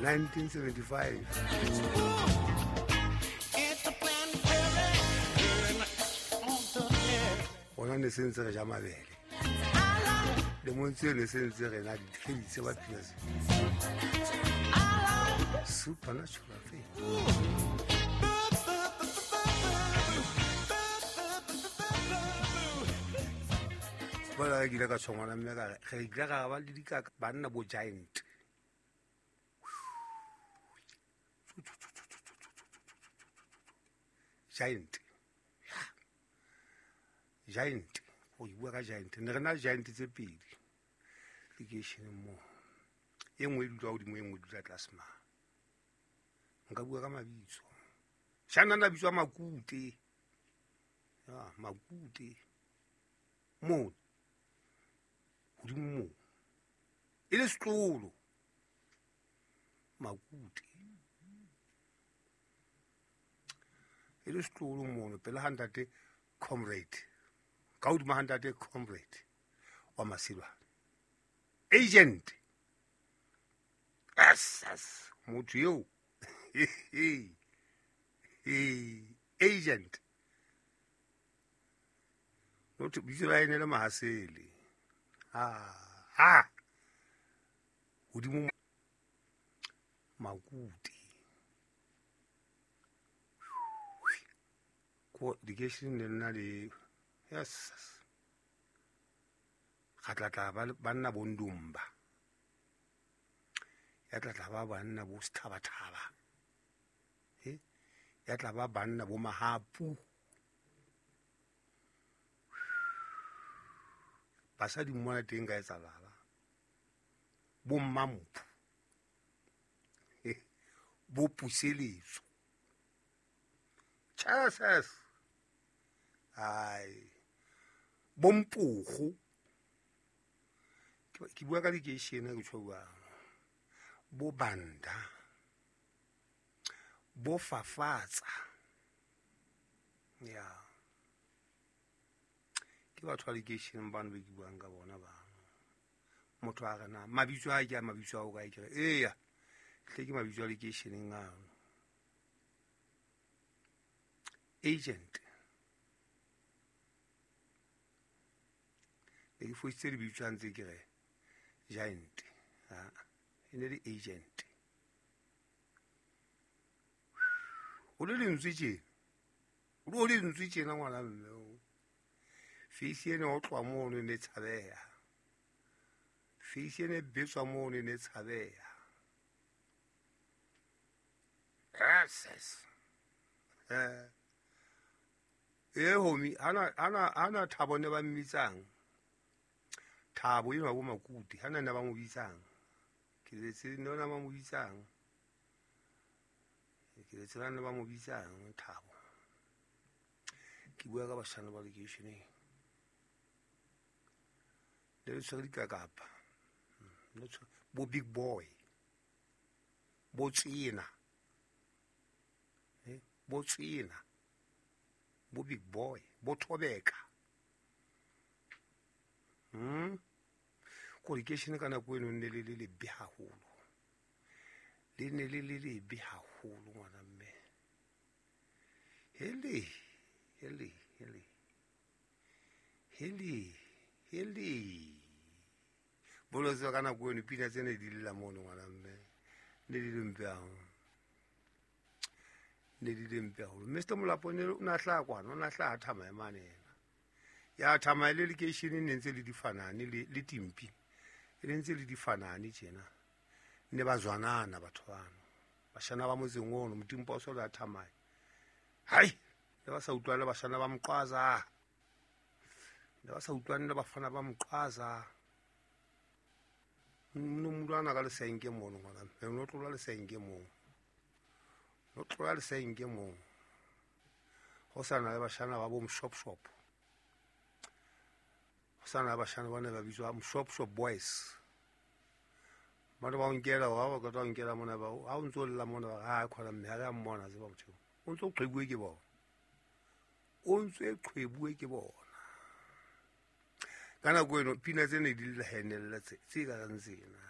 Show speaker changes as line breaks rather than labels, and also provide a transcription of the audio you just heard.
1975. Gona ne se ntse re ja mabele lemong tseo, ne se ntse re na ditlheditse ba pina se supernatural thing. Bona ke ile ka tshwangwana mme ka re ile ga ba le dikaka banna bo giant. Giant. Giant. Go bua ka giant. Ne re na le giant tse pedi lekeisheneng moo. E nngwe e dula godimo, e nngwe e dula tlase ma. Nka bua ka mabitso. Shana na bitswa Makute. Ya, Makute. Moo. Godimo moo. E le setlolo. Makute. E le setlolo mono pele ga ntate comrade. Ka hodimo ga ntate comrade wa Masilwane. Agent. Yes, yes. Motho eo. Agent. Motho bitso la ene le Mahasele. Ha. Hodimo Makute. Ko dikeisheneng le nna le yes. Ga tlatla banna bo Ndumba. Ya tlatla ba banna bo Sethabathaba. Ya tla ba banna bo Mahapu. Basadi mona teng ka etsalala. Bo Mmamphu. Bo Puseletso. Chases. Ai. Bo Mpogo. Ke bua ka lekeishene ke tjho bua. Bo Banda. Bo Fafatsa. Ya. Ke batho ba lekeisheneng bano be ke buang ka bona ba. Motho a re na mabitso a ke a mabitso a o kae ke re eya. Hle ke mabitso a lekeisheneng ano. Agent. Ne ke fositse lebitso a ntse ke re giant. Ha. E ne le agent. O le lentswe tjena. O le lentswe tjena ngwana mme o. Face ene o tloha mono e ne tshabeha. Face ene betswa mono e ne tshabeha. Yes. E homi ana Thabo ne ba mmitsang. Thabo eno bo Makute hana ne ba mo bitsang. Ke letse ne ba mo bitsang. Ke letse ne ba mo bitsang Thabo. Ke bua ka bashana ba lekeisheneng. Le le tshwere dikakapa. Bo big boy. Bo tsena. Bo tsena. Bo big boy. Bo Thobeka. Ko lekeishene ka nako eno ne le le lebe haholo. Le ne le le lebe haholo ngwana mme. Hele, hele, hele. Hele, hele. Bolotse ka nako eno pina tsene di lla mono ngwana mme. Ne di le mpe haholo. Ne di le mpe haholo. Mr. Molapo ne o na hlaha kwana, o na hlaha Thamae mane yena. Ya Thamae le lekeisheneng ne ntse le difanane le Timpi. E ne ntse le difanane tjena. Ne ba zwanana batho bano. Bashana ba motseng ono Motimpa o so le Thamae. Hai, ne ba sa utlwane bashana ba Mqwaza. Ne ba sa utlwane le bafana ba Mqwaza. No mulwana ka lesenke mono ngwana. No tlola lesenke mo. No tlola lesenke mo. Ho sana le bashana ba bo Mshop shop. Ho sana le bashana ba ne ba bitswa Mshop shop boys. Ba ba nkela wa ba ka nkela mona ba ha o ntso lla mona ba ha khona mme ha re mmona tseba motho. O ntso qhebuwe ke bona. O ntso qhebuwe ke bona. Ka nako eno pina tsene di lla henella tse ka rang tsena.